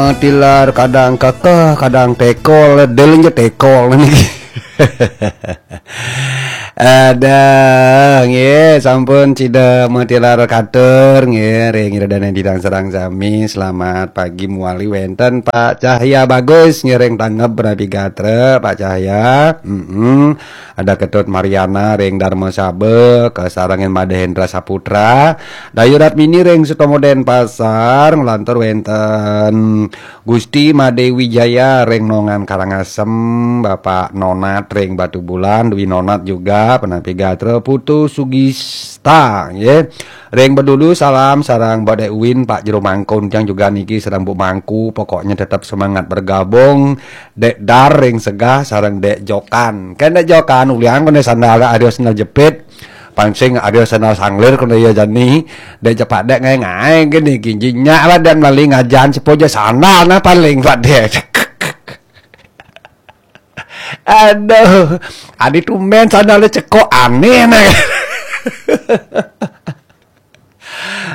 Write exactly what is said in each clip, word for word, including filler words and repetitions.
Tilar kadang kekeh, kadang tekol, delenje tekol niki. Ada, nggih, sampun cida matilar katur, nggih, ring ida dané didang sareng sami. Selamat pagi muali wénten Pak Cahya Bagus, ngiring tanggep rapi gatra, Pak Cahya. Mm-mm. Ada Ketut Mariana ring Dharma Saba, kasarengin Madé Hendra Saputra, Dayu Ratmini ring Sutomo Denpasar, nglantur wénten Gusti Madé Wijaya ring Nongan Karangasem, Bapak Nonat ring Batubulan, Dwi Nonat juga, Penapi Gatra, Putu Sugista, nggih. Ring Bedulu salam sareng Mbok Dek Win, Pak Jero Mangkun tiang juga niki sareng Bu Mangku, pokoknya tetap semangat bergabung. Dek Dar ring Segah sareng Dek Jokan. Kan Dek Jokan ulian kena sandal, ada sandal jepit. Pancing ada sandal sanglir kena iya jani. Dek cepat dek ngai-ngai gini, ginji nyak lah dan mali ngajan sepoja sandal nah paling buat dia. Aduh, adi tumben sandalnya cekok aneh nah.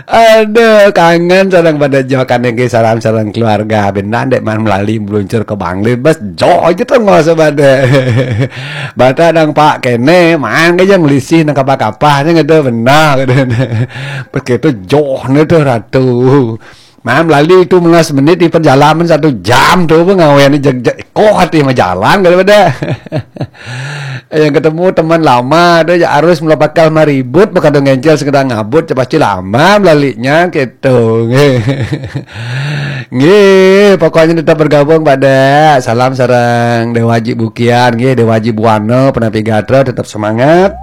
Aduh, kangen sareng pada jokan niki, salam sareng keluarga. Benar dek man melali meluncur ke Bangli, bas joh aja tuh nggak usah pada. Bata dang Pak kene, man ke jang lisih nang kapah-kapahnya gitu, benar gitu. Pas gitu joh nih tuh ratu. Man melali itu melas menit di perjalanan satu jam tuh pengawen jeg, jeg, kok hati mah jalan gitu pada. Yang ketemu teman lama tuh ya harus mula bakal maribut, bakal ngencel sekedar ngabut, ya pasti lama melalinya gitu. Nggih, pokoknya tetap bergabung pada salam sareng Dewa Haji Bukian, nggih, Dewa Haji Buana, Penapi Gatra, tetap semangat.